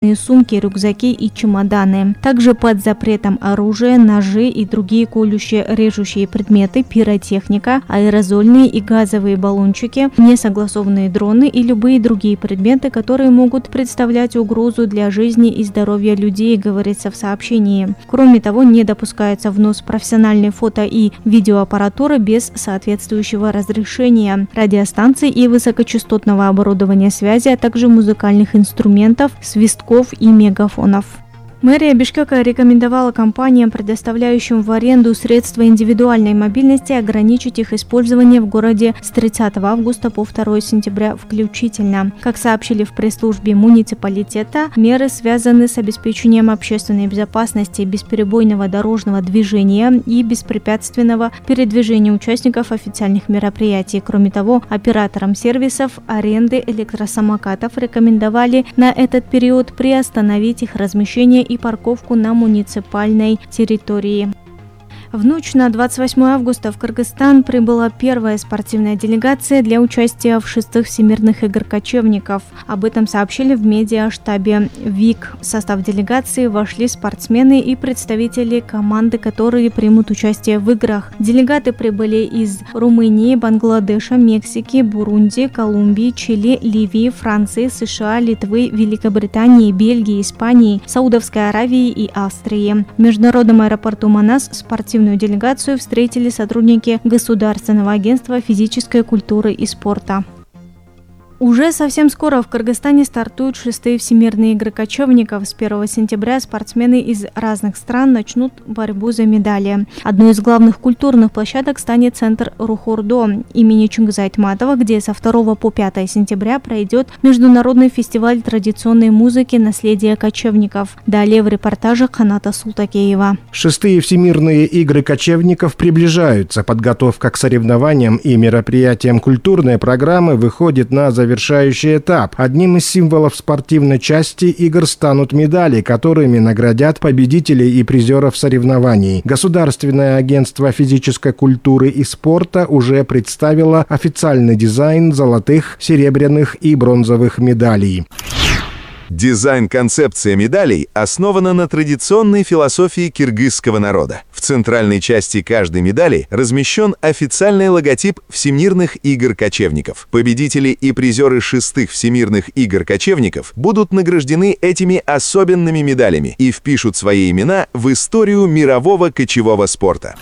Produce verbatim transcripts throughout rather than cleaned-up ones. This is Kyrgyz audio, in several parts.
сумки, рюкзаки и чемоданы. Также под запретом оружие, ножи и другие колющие, режущие предметы, пиротехника, аэрозольные и газовые баллончики, несогласованные дроны и любые другие предметы, которые могут представлять угрозу для жизни и здоровья людей, говорится в сообщении. Кроме того, не допускается внос профессиональной фото- и видеоаппаратуры без соответствующего разрешения, радиостанций и высокочастотного оборудования связи, а также музыкальных инструментов, свистков и мегафонов. Мэрия Бишкека рекомендовала компаниям, предоставляющим в аренду средства индивидуальной мобильности, ограничить их использование в городе с тридцатого августа по второе сентября включительно. Как сообщили в пресс-службе муниципалитета, меры связаны с обеспечением общественной безопасности, бесперебойного дорожного движения и беспрепятственного передвижения участников официальных мероприятий. Кроме того, операторам сервисов аренды электросамокатов рекомендовали на этот период приостановить их размещение и парковку на муниципальной территории. В ночь на двадцать восьмое августа в Кыргызстан прибыла первая спортивная делегация для участия в шестых всемирных игр кочевников. Об этом сообщили в медиаштабе ВИК. В состав делегации вошли спортсмены и представители команды, которые примут участие в играх. Делегаты прибыли из Румынии, Бангладеша, Мексики, Бурунди, Колумбии, Чили, Ливии, Франции, США, Литвы, Великобритании, Бельгии, Испании, Саудовской Аравии и Австрии. В международном аэропорту Манас спортивные делегацию встретили сотрудники Государственного агентства физической культуры и спорта. Уже совсем скоро в Кыргызстане стартуют шестые всемирные игры кочевников. С первого сентября спортсмены из разных стран начнут борьбу за медали. Одной из главных культурных площадок станет центр Рухордо имени Чингиза Айтматова, где со второго по пятое сентября пройдет международный фестиваль традиционной музыки «Наследие кочевников». Далее в репортаже Каната Султакеева. Шестые всемирные игры кочевников приближаются. Подготовка к соревнованиям и мероприятиям культурной программы выходит на завершение. Завершающий этап. Одним из символов спортивной части игр станут медали, которыми наградят победителей и призеров соревнований. Государственное агентство физической культуры и спорта уже представило официальный дизайн золотых, серебряных и бронзовых медалей. Дизайн-концепция медалей основана на традиционной философии киргизского народа. В центральной части каждой медали размещен официальный логотип Всемирных игр кочевников. Победители и призеры шестых Всемирных игр кочевников будут награждены этими особенными медалями и впишут свои имена в историю мирового кочевого спорта.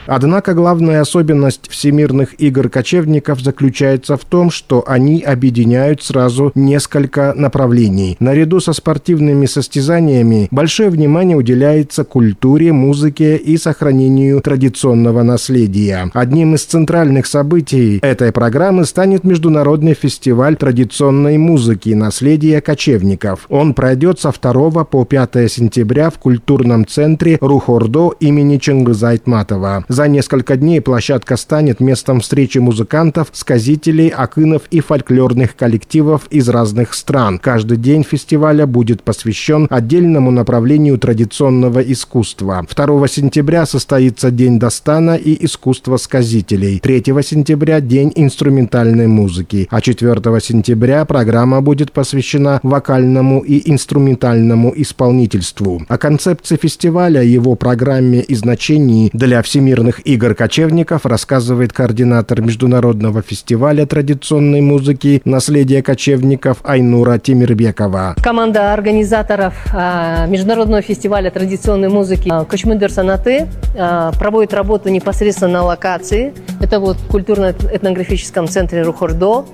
Однако главная особенность всемирных игр кочевников заключается в том, что они объединяют сразу несколько направлений. Наряду со спортивными состязаниями большое внимание уделяется культуре, музыке и сохранению традиционного наследия. Одним из центральных событий этой программы станет международный фестиваль традиционной музыки «Наследие кочевников». Он пройдет со второго по пятое сентября в культурном центре Рухордо имени Чингиза Айтматова. За несколько дней площадка станет местом встречи музыкантов, сказителей, акынов и фольклорных коллективов из разных стран. Каждый день фестиваля будет посвящен отдельному направлению традиционного искусства. второго сентября состоится День Дастана и искусства сказителей. третьего сентября – День инструментальной музыки. А четвёртого сентября программа будет посвящена вокальному и инструментальному исполнительству. О концепции фестиваля, его программе и значении для всемирных игр кочевников рассказывает координатор международного фестиваля традиционной музыки «Наследие кочевников» Айнура Темирбекова. Команда организаторов а, международного фестиваля традиционной музыки «Кочмындер Санаты» а, проводит работу непосредственно на локации. Это вот в культурно-этнографическом центре Рухордо.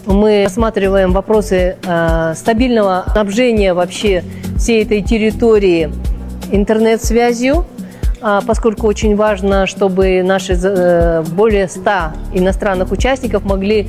Мы рассматриваем вопросы а, стабильного снабжения вообще всей этой территории интернет-связью, поскольку очень важно, чтобы наши более ста иностранных участников могли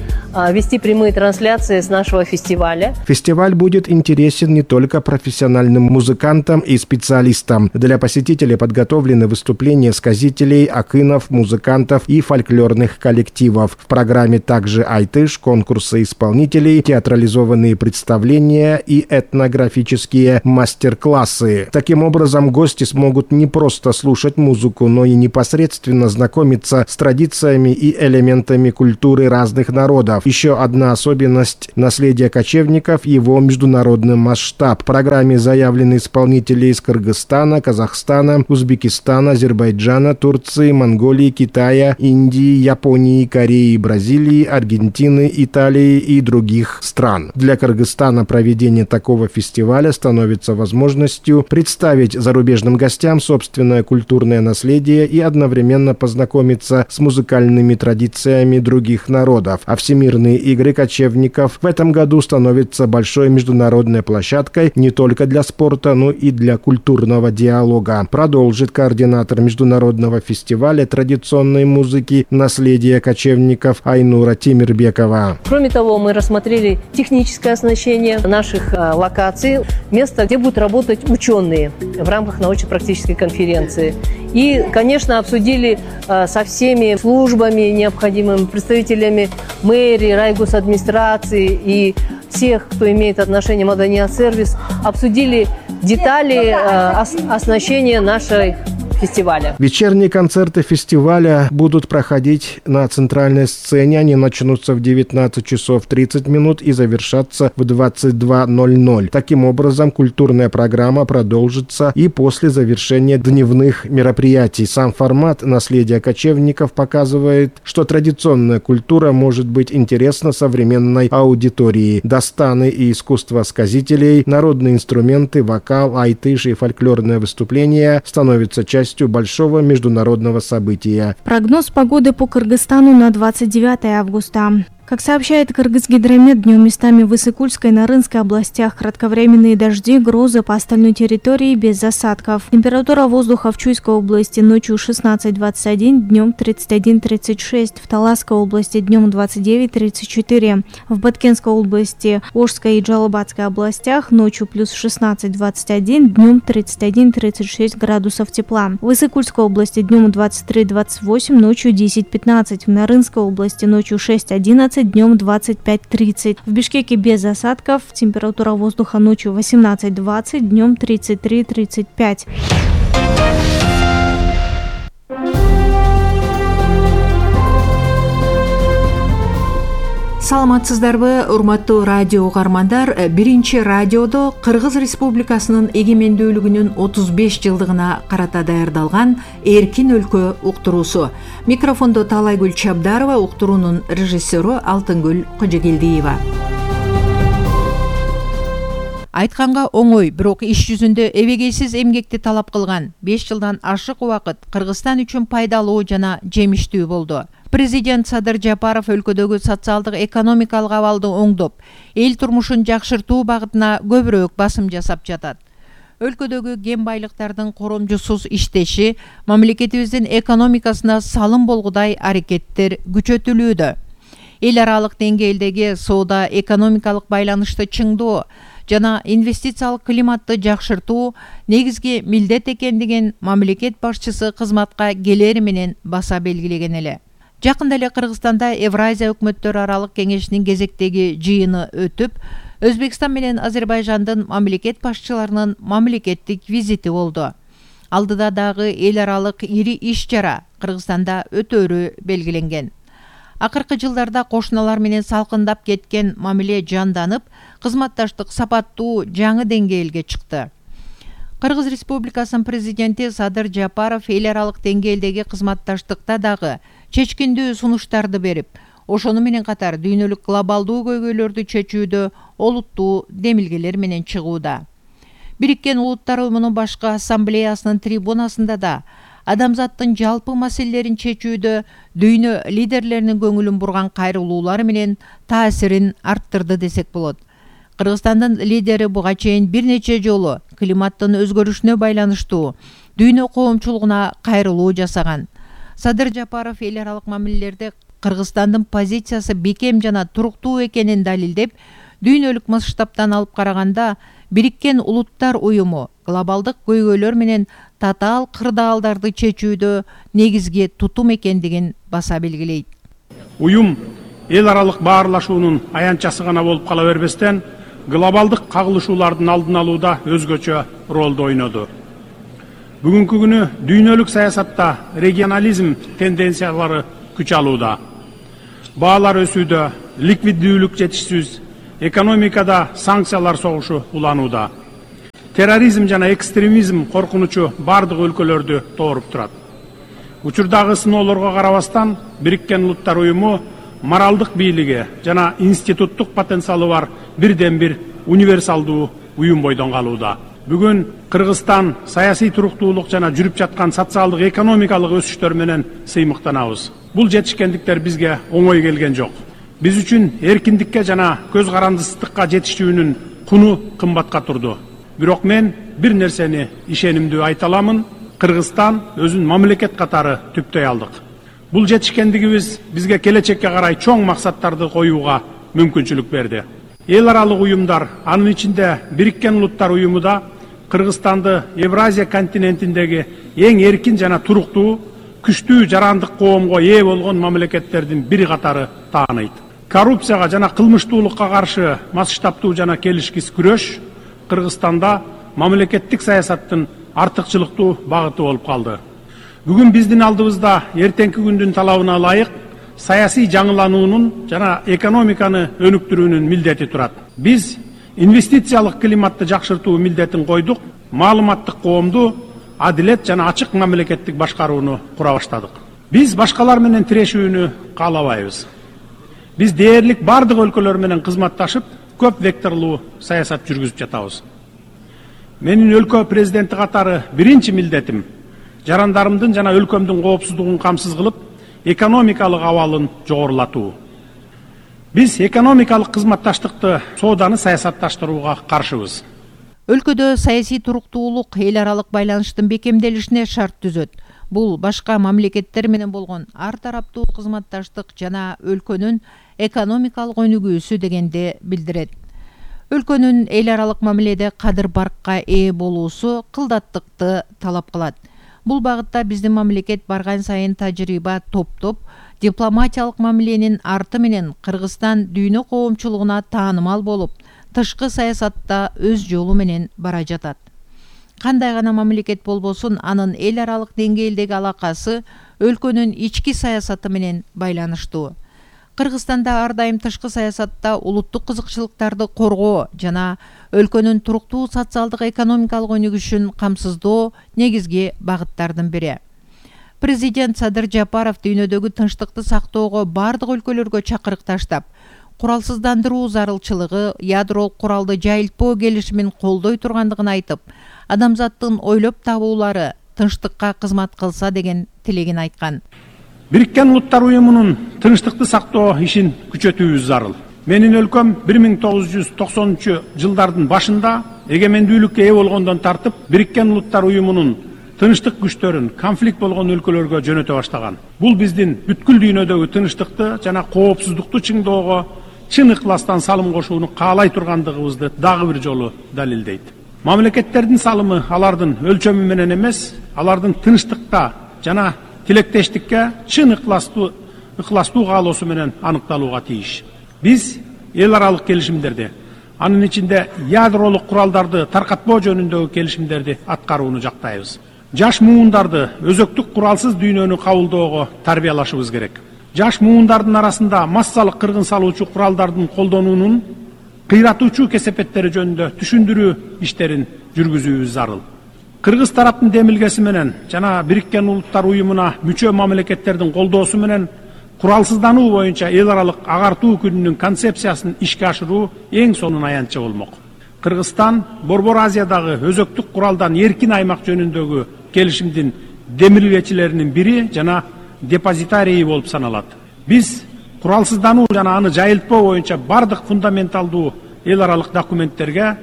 вести прямые трансляции с нашего фестиваля. Фестиваль будет интересен не только профессиональным музыкантам и специалистам. Для посетителей подготовлены выступления сказителей, акынов, музыкантов и фольклорных коллективов. В программе также айтыш, конкурсы исполнителей, театрализованные представления и этнографические мастер-классы. Таким образом, гости смогут не просто слушать слушать музыку, но и непосредственно знакомиться с традициями и элементами культуры разных народов. Еще одна особенность наследия кочевников – его международный масштаб. В программе заявлены исполнители из Кыргызстана, Казахстана, Узбекистана, Азербайджана, Турции, Монголии, Китая, Индии, Японии, Кореи, Бразилии, Аргентины, Италии и других стран. Для Кыргызстана проведение такого фестиваля становится возможностью представить зарубежным гостям собственное культурное наследие и одновременно познакомиться с музыкальными традициями других народов. А Всемирные игры кочевников в этом году становятся большой международной площадкой не только для спорта, но и для культурного диалога. Продолжит координатор международного фестиваля традиционной музыки «Наследие кочевников» Айнура Тимирбекова. Кроме того, мы рассмотрели техническое оснащение наших а, локаций, место, где будут работать ученые в рамках научно-практической конференции. И, конечно, обсудили а, со всеми службами необходимыми, представителями мэрии, райгосадминистрации и всех, кто имеет отношение к Маданият-сервис, обсудили детали а, оснащения нашей фестиваля. Вечерние концерты фестиваля будут проходить на центральной сцене. Они начнутся в девятнадцать часов тридцать минут и завершатся в двадцать два ноль ноль. Таким образом, культурная программа продолжится и после завершения дневных мероприятий. Сам формат «Наследия кочевников» показывает, что традиционная культура может быть интересна современной аудитории. Достаны и искусство сказителей, народные инструменты, вокал, айтыш и фольклорное выступление становятся частью большого международного события. Прогноз погоды по Кыргызстану на двадцать девятое августа. Как сообщает Кыргызгидромет, днем местами в Иссык-Кульской и Нарынской областях кратковременные дожди, грозы по остальной территории без засадков. Температура воздуха в Чуйской области ночью шестнадцать двадцать один, днем тридцать один тридцать шесть, в Таласской области днем двадцать девять тридцать четыре, в Баткенской области, Ошской и Джалабадской областях ночью плюс шестнадцать двадцать один, днем тридцать один тридцать шесть градусов тепла. В Иссык-Кульской области днем двадцать три двадцать восемь, ночью десять пятнадцать, в Нарынской области ночью шесть одиннадцать, днем двадцать пять тридцать. В Бишкеке без осадков, температура воздуха ночью восемнадцать двадцать, днем тридцать три тридцать пять. Саламатсыздарбы, урматтуу радио угармандар. Биринчи радиодо Кыргыз Республикасынын эгемендүүлүгүнүн отуз беш жылдыгына карата даярдалган Эркин өлкө уктуруусу. Микрофондо Таалайгүл Чабдарова, уктуруунун режиссеру Алтынгүл Кожогелдиева. Айтканга оңой, бирок иш жүзүндө эбегейсиз эмгекти талап кылган беш жылдан ашык убакыт Кыргызстан үчүн пайдалуу жана жемиштүү болду. Президент Садыр Жапаров өлкөдөгү социалдык экономикалык абалды оңдоп, эл турмушун жакшыртуу багытына көбүрөөк басым жасап жатат. Өлкөдөгү кен байлыктардын коромжусуз иштеши мамлекетибиздин экономикасына салым болгудай аракеттер күчөтүлүүдө. Эл аралык деңгээлдеги соода экономикалык байланышты чыңдоо жана инвестициялык климатты жакшыртуу негизги милдет экендигин мамлекет башчысы кызматка келери менен баса белгилеген эле. Жакында эле Кыргызстанда Евразия өкмөттөр аралык кеңешинин кезектеги жыйыны өтүп, Өзбекстан менен Азербайжандын мамлекет башчыларынын мамлекеттик визити болду. Алдыда дагы эл аралык ири иш-чара Кыргызстанда өтөөрү белгиленген. Акыркы жылдарда кошуналар менен салкындап кеткен мамиле жанданып, кызматташтык сапаттуу жаңы деңгээлге чыкты. Кыргыз Республикасынын президенти Садыр Жапаров эл аралык деңгээлдеги кызматташтыкта дагы чечкиндүү сунуштарды берип, ошону менен катар дүйнөлүк глобалдуу көйгөйлөрдү чечүүдө олуттуу демилгелер менен чыгууда. Бириккен Улуттар Уюмунун башкы ассамблеясынын трибунасында да адамзаттын жалпы маселелерин чечүүдө дүйнө лидерлеринин көңүлүн бурган кайрылуулары менен таасирин арттырды десек болот. Кыргызстандын лидери буга чейин бир нече жолу климаттын өзгөрүшүнө байланыштуу дүйнө коомчулугуна кайрылуу жасаган. Садыр Жапаров эл аралык мамилелерде Кыргызстандын позициясы бекем жана туруктуу экенин далилдеп, дүйнөлүк масштабтан алып караганда Бириккен Улуттар Уюму глобалдык көйгөйлөр менен татаал кырдаалдарды чечүүдө негизги тутум экендигин баса белгилейт. Уюм эл аралык баарлашуунун аянтчасы гана болуп кала бербестен, глобалдык кагылышуулардын алдын алууда өзгөчө ролду ойноду. Бүгүнкү күнү дүйнөлүк саясатта регионализм тенденциялары күч алууда. Баалар өсүүдө, ликвиддүүлүк жетишсиз, экономикада санкциялар согушу уланууда. Терроризм жана экстремизм коркунучу бардык өлкөлөрдү тооруп турат. Учурдагы сыноолорго карабастан, Бириккен Улуттар уюму моралдык бийлиги жана институттук потенциалы бар бирден бир универсалдуу уюм бойдон калууда. Бүгүн Кыргызстан саясий туруктуулук жана жүрүп жаткан социалдык экономикалык өсүштөр менен сыймыктанабыз. Бул жетишкендиктер бизге оңой келген жок. Биз үчүн эркиндикке жана көз карандысыздыкка жетишүүнүн куну кымбатка турду. Бирок мен бир нерсени ишенимдүү айта аламын: Кыргызстан өзүн мамлекет катары түптөй алдык. Бул жетишкендигибиз бизге келечекке карай чоң максаттарды коюуга мүмкүнчүлүк берди. Эл аралык уюмдар, анын ичинде Бириккен Улуттар уюму да Кыргызстанды Евразия континентиндеги эң эркин жана туруктуу, күчтүү жарандык коомго ээ болгон мамлекеттердин бири катары тааныйт. Коррупцияга жана кылмыштуулукка каршы масштабтуу жана келишкис күрөш Кыргызстанда мамлекеттик саясаттын артыкчылыктуу багыты болуп калды. Бүгүн биздин алдыбызда эртеңки күндүн талабына ылайык саясий жаңылануунун жана экономиканы өнүктүрүүнүн милдети турат. Биз инвестициялык климатты жакшыртуу милдетин койдук, маалыматтык коомду, адилет жана ачык мамлекеттик башкарууну кура баштадык. Биз башкалар менен тирешүүнү каалабайбыз. Биз дээрлик бардык өлкөлөр менен кызматташып, көп векторлуу саясат жүргүзүп жатабыз. Менин өлкө президенти катары биринчи милдетим жарандарымдын жана өлкөмдүн коопсуздугун камсыз кылып, экономикалык абалын жогорулатуу. Биз экономикалык кызматташтыкты, сооданы саясатташтырууга каршыбыз. Өлкөдө саясий туруктуулук эл аралык байланыштын бекемделишине шарт түзөт. Бул башка мамлекеттер менен болгон ар тараптуу кызматташтык жана өлкөнүн экономикалык өнүгүүсү дегенди билдирет. Өлкөнүн эл аралык мамиледе кадыр баркка ээ болуусу кылдаттыкты талап кылат. Бул багытта биздин мамлекет барган сайын тажрыйба топтоп, дипломатиялык мамиленин арты менен Кыргызстан дүйнө коомчулугуна таанымал болуп, тышкы саясатта өз жолу менен бара жатат. Кандай гана мамлекет болбосун, анын эл аралык деңгээлдеги алакасы өлкөнүн ички саясаты менен байланыштуу. Кыргызстанда ар дайым тышкы саясатта улуттук кызыкчылыктарды коргоо жана өлкөнүн туруктуу социалдык экономикалык өнүгүшүн камсыздоо негизги багыттардын бири. Президент Садыр Жапаров дүйнөдөгү тынчтыкты сактоого бардык өлкөлөргө чакырык таштап, куралсыздандыруу зарылчылыгы, ядролук куралды жайылтпоо келишимин колдой тургандыгын айтып, адамзаттын ойлоп табуулары тынчтыкка кызмат кылса деген тилегин айткан. Бириккен Улуттар уюмунун тынчтыкты сактоо ишин күчөтүүбүз зарыл. Менин өлкөм бир миң тогуз жүз токсонунчу жылдардын башында эгемендүүлүккө ээ болгондон тартып, Бириккен Улуттар уюмунун тынчтык күчтөрүн конфликт болгон өлкөлөргө жөнөтө баштаган. Бул биздин бүткүл дүйнөдөгү тынчтыкты жана коопсуздукту чыңдоого чын ыкластан салым кошууну каалай тургандыгыбызды дагы бир жолу далилдейт. Мамлекеттердин салымы алардын өлчөмү менен эмес, алардын тынчтыкта жана тилектештикке чын ыкластуу ыкластуу каалоосу менен аныкталууга тийиш. Биз эл аралык келишимдерди, анын ичинде ядролук куралдарды таркатпоо жөнүндөгү келишимдерди аткарууну жактайбыз. Жаш муундарды өзөктүк куралсыз дүйнөнү кабылдоого тарбиялашыбыз керек. Жаш муундардын арасында массалык кыргын салуучу куралдардын колдонуунун кыйратуучу кесепеттери жөнүндө түшүндүрүү иштерин жүргүзүүбүз зарыл. Кыргыз тараптын демилгеси менен жана Бириккен Улуттар уюмуна мүчө мамлекеттердин колдоосу менен куралсыздануу боюнча эл аралык агартуу күнүнүн концепциясын ишке ашыруу эң сонун аянтча болмок. Кыргызстан Борбор Азиядагы өзөктүк куралдан эркин аймак жөнүндөгү келишимдин демилгечилеринин бири жана депозитарийи болуп саналат. Биз куралсыздануу жана аны жайылтпоо боюнча бардык фундаменталдуу эл аралык документтерге,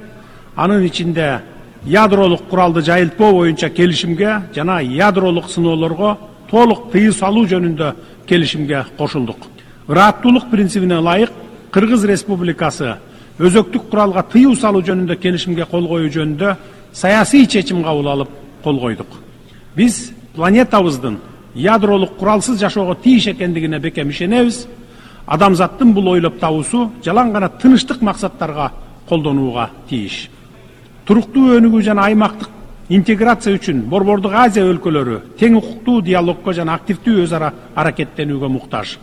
анын ичинде ядролук куралды жайылтпоо боюнча келишимге жана ядролук сыноолорго толук тыюу салуу жөнүндө келишимге кошулдук. Ырааттуулук принцибине ылайык Кыргыз Республикасы өзөктүк куралга тыюу салуу жөнүндө келишимге кол коюу жөнүндө саясий чечим кабыл алып кол койдук. Биз планетабыздын ядролук куралсыз жашоого тийиш экендигине бекем ишенебиз. Адамзаттын бул ойлоп табуусу жалаң гана тынчтык максаттарга колдонууга тийиш. Туруктуу өнүгүү жана аймактык интеграция үчүн Борбордук Азия өлкөлөрү тең укуктуу диалогко жана активдүү өз ара аракеттенүүгө муктаж.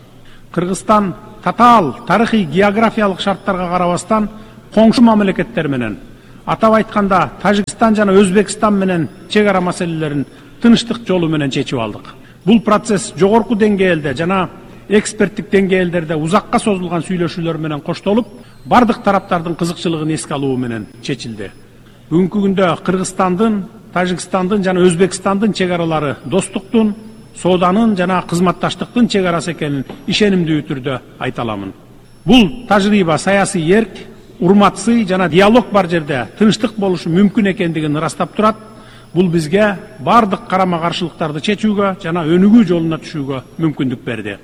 Кыргызстан татаал тарыхый географиялык шарттарга карабастан коңшу мамлекеттер менен, атап айтканда Тажикстан жана Өзбекстан менен чек ара маселелерин тынчтык жолу менен чечип алдык. Бул процесс жогорку деңгээлде жана эксперттик деңгээлдерде узакка созулган сүйлөшүүлөр менен коштолуп, бардык тараптардын кызыкчылыгын эске алуу менен чечилди. Бүгүнкү күндө Кыргызстандын, Тажикстандын жана Өзбекстандын чек аралары достуктун, сооданын жана кызматташтыктын чек арасы экенин ишенимдүү түрдө айта аламын. Бул тажрыйба саясий эрк, урматсый жана диалог бар жерде тынчтык болушу мүмкүн экендигин ырастап турат. Бул бизге бардык карама-каршылыктарды чечүүгө жана өнүгүү жолуна түшүүгө мүмкүндүк берди.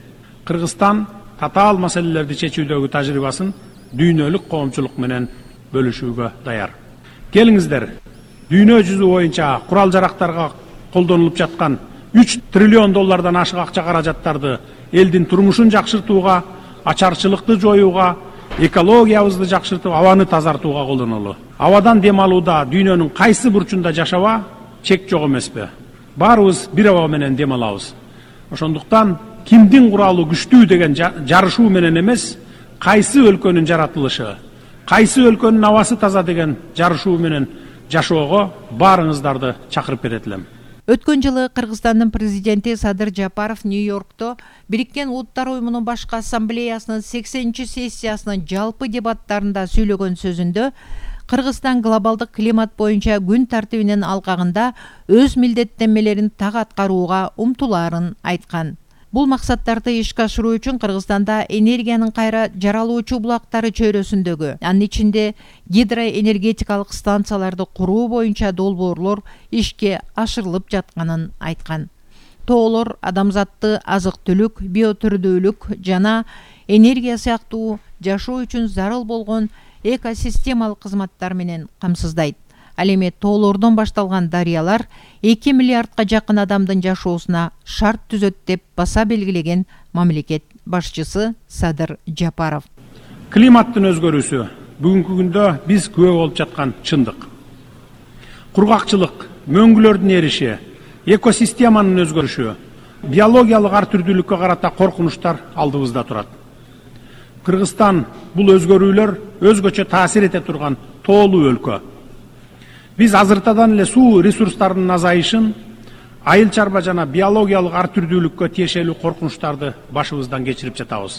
Кыргызстан татаал маселелерди чечүүдөгү тажрыйбасын дүйнөлүк коомчулук менен бөлүшүүгө даяр. Келиңиздер, дүйнө жүзү боюнча курал жарактарга колдонулуп жаткан үч триллион доллардан ашык акча каражаттарды элдин турмушун жакшыртууга, ачарчылыкты жоюуга, экологиябызды жакшыртып, абаны тазартууга колдонолу. Абадан дем алууда дүйнөнүн кайсы бурчунда жашаба чек жок эмеспи? Баарыбыз бир аба менен дем алабыз. Ошондуктан кимдин куралы күчтүү деген жарышуу менен эмес, кайсы өлкөнүн жаратылышы, кайсы өлкөнүн абасы таза деген жарышуу менен жашоого баарыңыздарды чакырып кетет элем. Өткөн жылы Кыргызстандын президенти Садыр Жапаров Нью-Йоркто Бириккен Улуттар уюмунун башкы ассамблеясынын сексенинчи сессиясынын жалпы дебаттарында сүйлөгөн сөзүндө Кыргызстан глобалдык климат боюнча күн тартибинин алкагында өз милдеттенмелерин так аткарууга умтулаарын айткан. Бул максаттарды ишке ашыруу үчүн Кыргызстанда энергиянын кайра жаралуучу булактары чөйрөсүндөгү, анын ичинде гидроэнергетикалык станцияларды куруу боюнча долбоорлор ишке ашырылып жатканын айткан. Тоолор адамзатты азык-түлүк, биотүрдүүлүк жана энергия сыяктуу жашоо үчүн зарыл болгон экосистемалык кызматтар менен камсыздайт. Ал эми тоолордон башталган дарыялар эки миллиардка жакын адамдын жашоосуна шарт түзөт деп баса белгилеген мамлекет башчысы Садыр Жапаров. Климаттын өзгөрүүсү бүгүнкү күндө биз күбө болуп жаткан чындык. Кургакчылык, мөңгүлөрдүн эриши, экосистеманын өзгөрүшү, биологиялык ар түрдүүлүккө карата коркунучтар алдыбызда турат. Кыргызстан бул өзгөрүүлөр өзгөчө таасир эте турган тоолуу өлкө. Биз азыртадан эле суу ресурстарынын азайышын, айыл чарба жана биологиялык ар түрдүүлүккө тиешелүү коркунучтарды башыбыздан кечирип жатабыз.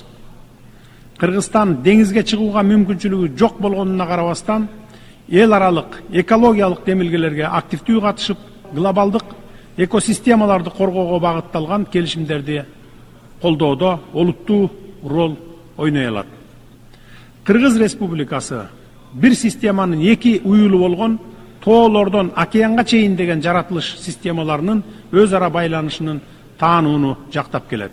Кыргызстан деңизге чыгууга мүмкүнчүлүгү жок болгонуна карабастан, эл аралык экологиялык демилгелерге активдүү катышып, глобалдык экосистемаларды коргоого багытталган келишимдерди колдоодо олуттуу роль ойной алат. Кыргыз Республикасы бир системанын эки уюлу болгон тоолордон океанга чейин деген жаратылыш системаларынын өз ара байланышынын таанууну жактап келет.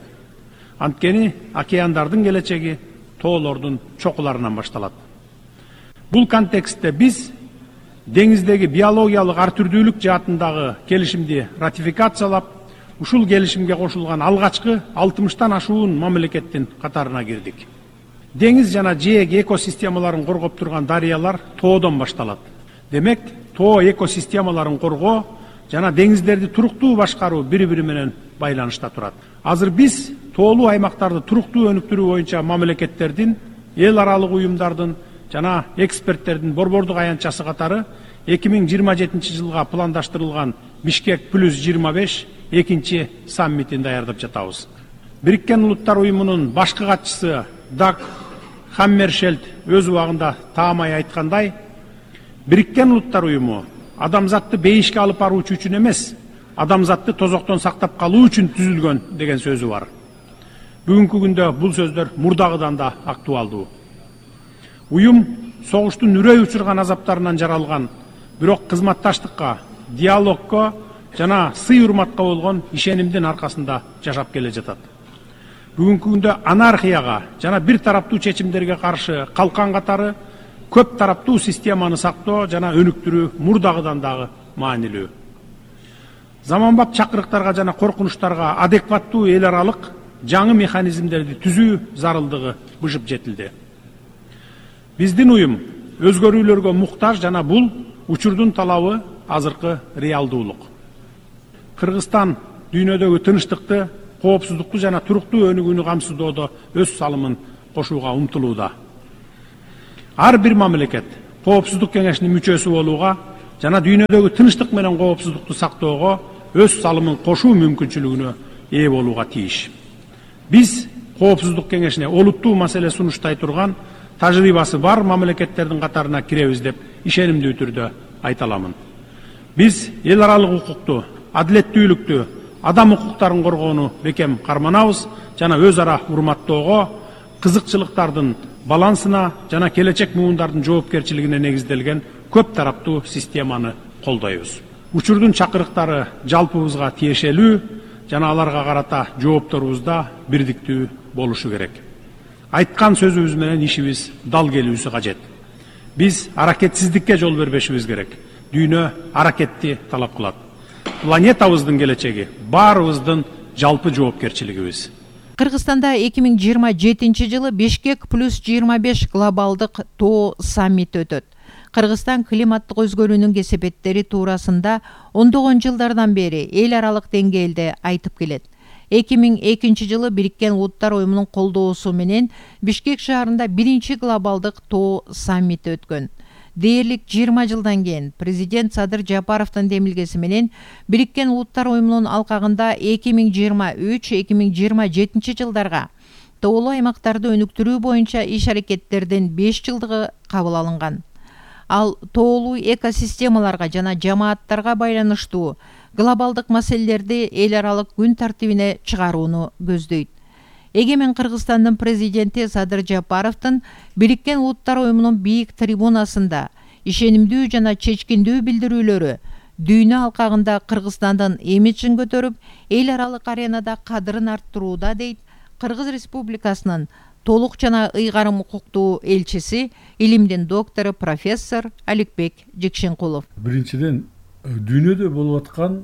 Анткени океандардын келечеги тоолордун чокуларынан башталат. Бул контекстте биз деңиздеги биологиялык ар түрдүүлүк жаатындагы келишимди ратификациялап, ушул келишимге кошулган алгачкы алтымыштан ашуун мамлекеттин катарына кирдик. Деңиз жана жээк экосистемаларын коргоп турган дарыялар тоодон башталат. Демек, тоо экосистемаларын коргоо жана деңиздерди туруктуу башкаруу бири-бири менен байланышта турат. Азыр биз тоолуу аймактарды туруктуу өнүктүрүү боюнча мамлекеттердин, эл аралык уюмдардын жана эксперттердин борбордук аянтчасы катары эки миң жыйырма жетинчи жылга пландаштырылган Бишкек плюс жыйырма беш экинчи саммитин даярдап жатабыз. Бириккен Улуттар уюмунун башкы катчысы Даг Хаммершельд өз убагында таамай айткандай, Бириккен Улуттар уюму адамзатты бейишке алып баруучу үчүн эмес, адамзатты тозоктон сактап калуу үчүн түзүлгөн деген сөзү бар. Бүгүнкү күндө бул сөздөр мурдагыдан да актуалдуу. Уюм согуштун үрөй учурган азаптарынан жаралган, бирок кызматташтыкка, диалогко жана сый-урматка болгон ишенимдин аркасында жашап келе жатат. Бүгүнкү күндө анархияга жана бир тараптуу чечимдерге каршы калкан катары көп тараптуу системаны сактоо жана өнүктүрүү мурдагыдан дагы маанилүү. Заманбап чакырыктарга жана коркунучтарга адекваттуу эл аралык жаңы механизмдерди түзүү зарылдыгы бышып жетилди. Биздин уюм өзгөрүүлөргө муктаж жана бул учурдун талабы азыркы реалдуулук. Кыргызстан дүйнөдөгү тынчтыкты, коопсуздукту жана туруктуу өнүгүүнү камсыздоодо өз салымын кошууга умтулууда. Ар бир мамлекет коопсуздук кеңешинин мүчөсү болууга жана дүйнөдөгү тынчтык менен коопсуздукту сактоого өз салымын кошуу мүмкүнчүлүгүнө ээ болууга тийиш. Биз коопсуздук кеңешине олуттуу маселе сунуштай турган тажрыйбасы бар мамлекеттердин катарына киребиз деп ишенимдүү түрдө айта аламын. Биз эл аралык укукту, адилеттүүлүктү, адам укуктарын коргоону бекем карманабыз жана өз ара урматтоого, кызыкчылыктардын балансына жана келечек муундардын жоопкерчилигине негизделген көп тараптуу системаны колдойбуз. Учурдун чакырыктары жалпыбызга тиешелүү жана аларга карата жоопторубузда бирдиктүү болушу керек. Айткан сөзүбүз менен ишибиз дал келүүсү кажет. Биз аракетсиздикке жол бербешибиз керек. Дүйнө аракетти талап кылат. Планетабыздын келечеги баарыбыздын жалпы жоопкерчилигибиз. Кыргызстанда эки миң жыйырма жетинчи жылы Бишкек плюс жыйырма беш глобалдык тоо саммити өтөт. Кыргызстан климаттык өзгөрүүнүн кесепеттери туурасында ондогон жылдардан бери эл аралык деңгээлде айтып келет. эки миң экинчи жылы Бириккен Улуттар Уюмунун колдоосу менен Бишкек шаарында биринчи глобалдык тоо саммити өткөн. Дээрлик жыйырма жылдан кийин президент Садыр Жапаровдун демилгеси менен Бириккен Улуттар Уюмунун алкагында эки миң жыйырма үч — эки миң жыйырма жетинчи жылдарга тоолуу аймактарды өнүктүрүү боюнча иш-аракеттердин беш жылдыгы кабыл алынган. Ал тоолуу экосистемаларга жана жамааттарга байланыштуу глобалдык маселелерди эл аралык күн тартибине чыгарууну көздөйт. Эгемен Кыргызстандын президенти Садыр Жапаровдун Бириккен Улуттар Уюмунун бийик трибунасында ишенимдүү жана чечкиндүү билдирүүлөрү дүйнө алкагында Кыргызстандын имиджин көтөрүп, эл аралык аренада кадырын арттырууда, дейт Кыргыз Республикасынын толук жана ыйгарым укуктуу элчиси, илимдин доктору профессор Аликбек Жекшенкулов. Биринчиден, дүйнөдө болуп аткан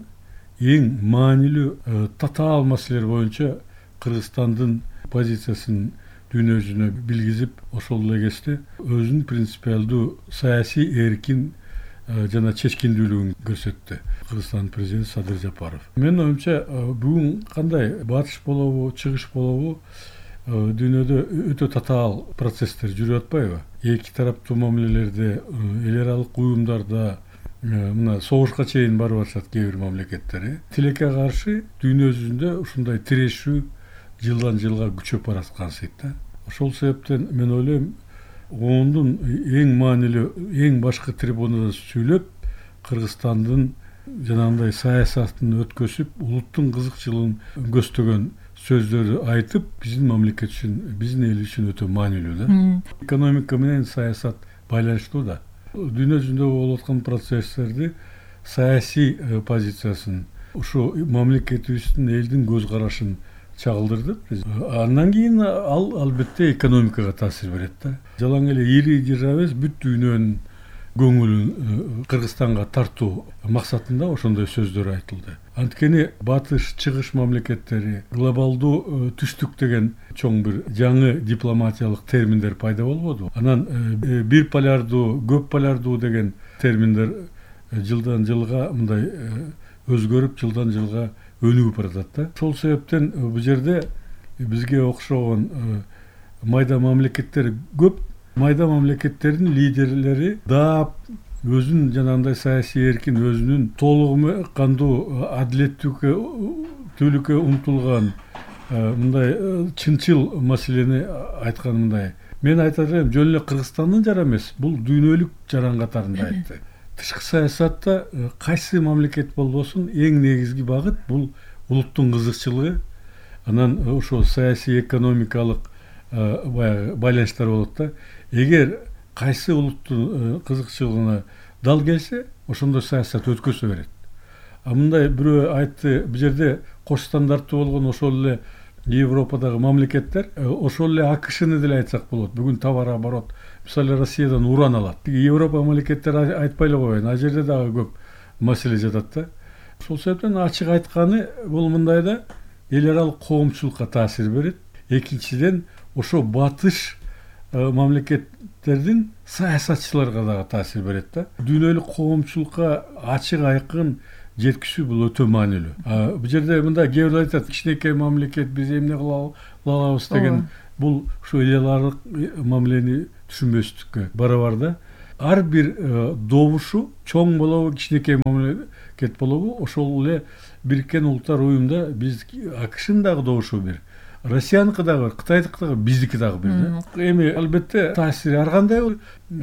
эң маанилүү татаал маселелер боюнча Кыргызстандын позициясын дүйнө жүзүнө билгизип, ошол эле кезде өзүнүн принципиалдуу саясий эркин жана чечкиндүүлүгүн көрсөттү Кыргызстандын президенти Садыр Жапаров. Менин оюмча, бүгүн кандай батыш болобу, чыгыш болобу, дүйнөдө өтө татаал процесстер жүрүп атпайбы? Эки тараптуу мамилелерде, эл аралык уюмдарда мына согушка чейин барып атышат кээ бир мамлекеттер. Тилекке каршы дүйнө жүзүндө ушундай тирешүү жылдан жылга күчөп бараткан сыйт. Ошол себептен мен ойлойм, ондун эң маанилүү, эң башкы трибунада сүйлөп, Кыргызстандын жанагындай саясатын өткөзүп, улуттун кызыкчылыгын көздөгөн сөздөрдү айтып, биздин мамлекет үчүн, биздин эл үчүн өтө маанилүү да. Экономика менен саясат байланыштуу да. Дүйнө жүзүндө болуп аткан процесстерди, саясий позициясын, ушу мамлекетибиздин, элдин көз карашын чагылдырды. Андан кийин ал албетте экономикага таасир берет да. Жалаң эле ири держава эмес, бүт дүйнөнүн көңүлүн Кыргызстанга тартуу максатында ошондой сөздөр айтылды. Анткени батыш, чыгыш мамлекеттери, глобалдуу түштүк деген чоң бир жаңы дипломатиялык терминдер пайда болбоду. Анан бир полярдуу, көп полярдуу деген терминдер жылдан жылга мындай өзгөрүп, жылдан жылга өнүгүп баратат да. Ошол себептен бул жерде бизге окшогон майда мамлекеттер көп. Майда мамлекеттердин лидерлери да өзүнүн жанагындай саясий эркин, өзүнүн толугу кандуу адилеттүүлүккө умтулган мындай чынчыл маселени айткан мындай. Мен айтар элем, жөн эле Кыргызстандын жара эмес, бул дүйнөлүк жаран катарында айтты. Тышкы саясатта кайсы мамлекет болбосун, эң негизги багыт бул улуттун кызыкчылыгы, анан ошо саясий экономикалык баягы байланыштар болот да. Эгер кайсы улуттун кызыкчылыгына дал келсе, ошондой саясат өткөзө берет. А мындай бирөө айтты, бул жерде кош стандарттуу болгон ошол эле Европадагы мамлекеттер, ошол эле АКШны деле айтсак болот. Бүгүн товар оборот, мисалы Россиядан уран алат. Европа мамлекеттери айтпай эле коеюн, а жерде дагы көп маселе жатат да. Ошол себептен ачык айтканы бул мындай да, эл аралык коомчулукка таасир берет. Экинчиден, ошо батыш мамлекеттердин саясатчыларга дагы таасир берет да. Дүйнөлүк коомчулукка ачык айкын жеткизүү бул өтө маанилүү. Бул жерде мында кээ бирөө айтат, кичинекей мамлекет биз эмне кыла алабыз деген, бул ушу элеларлык мамилени түшүнбөстүккө барабар да. Ар бир добушу чоң болобу, кичинекей мамлекет болобу, ошол эле Бириккен Улуттар Уюмда биз АКШнын дагы добушу бир, Россияныкы дагы бар, Кытайдыкы дагы, биздики дагы бир да. Эми албетте таасири ар кандай болот.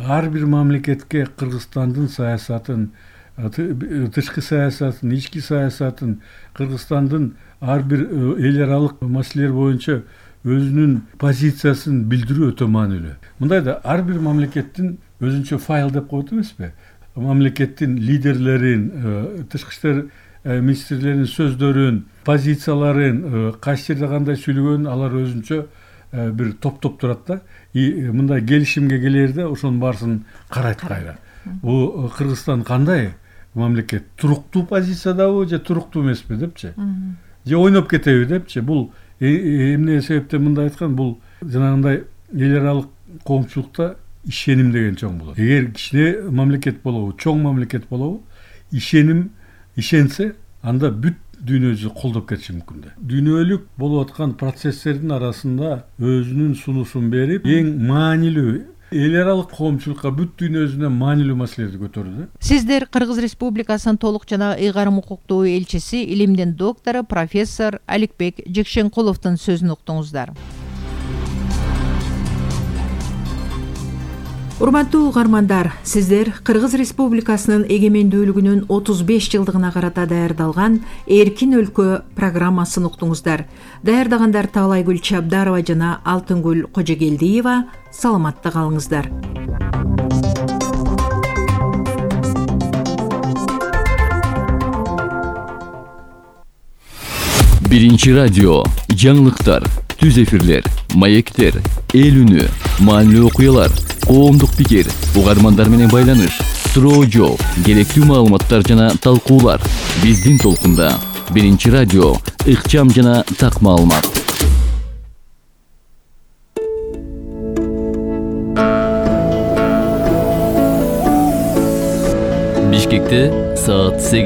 Ар бир мамлекетке Кыргызстандын саясатын, тышкы саясатын, ички саясатын, Кыргызстандын ар бир эл аралык маселелер боюнча өзүнүн позициясын билдирүү өтө маанилүү. Мындай да ар бир мамлекеттин өзүнчө файл деп коет эмеспи? Мамлекеттин лидерлерин, тышкы иштер министрлеринин сөздөрүн, позицияларын, кайсы жерде кандай сүйлөгөнүн алар өзүнчө бир топтоп турат да. И мындай келишимге келерде ошонун баарысын карайт кайра. Бул Кыргызстан кандай мамлекет? Туруктуу позициядабы же туруктуу эмеспи депчи? Же ойноп кетеби депчи? Бул эмне себептен мындай айткан? Бул жанагындай эл аралык коомчулукта ишеним деген чоң болот. Эгер кичине мамлекет болобу, чоң мамлекет болобу, ишеним ишенсе, анда бүт дүйнө жүзү колдоп кетиши мүмкүн да. Дүйнөлүк болуп аткан процесстердин арасында өзүнүн сунушун берип, эң маанилүү эл аралык коомчулукка бүт дүйнө жүзүнө маанилүү маселелерди көтөрдү. Сиздер Кыргыз Республикасынын толук жана ыйгарым укуктуу элчиси, илимдин доктору, профессор Аликбек Жекшенкуловдун сөзүн уктуңуздар. Урматтуу угармандар, сиздер Кыргыз Республикасынын эгемендүүлүгүнүн отуз беш жылдыгына карата даярдалган Эркин өлкө программасын уктуңуздар. Даярдагандар Таалайгүл Чабдарова жана Алтынгүл Кожогелдиева. Саламатта калыңыздар. Биринчи радио, жаңылыктар, түз эфирлер, маектер, эл үнү, маанилүү окуялар, коомдук пикир, угармандар менен байланыш, суроо жооп, керектүү маалыматтар жана талкуулар. Биздин толкунда Биринчи радио, ыкчам жана так маалымат. Бишкекте саат сегиз.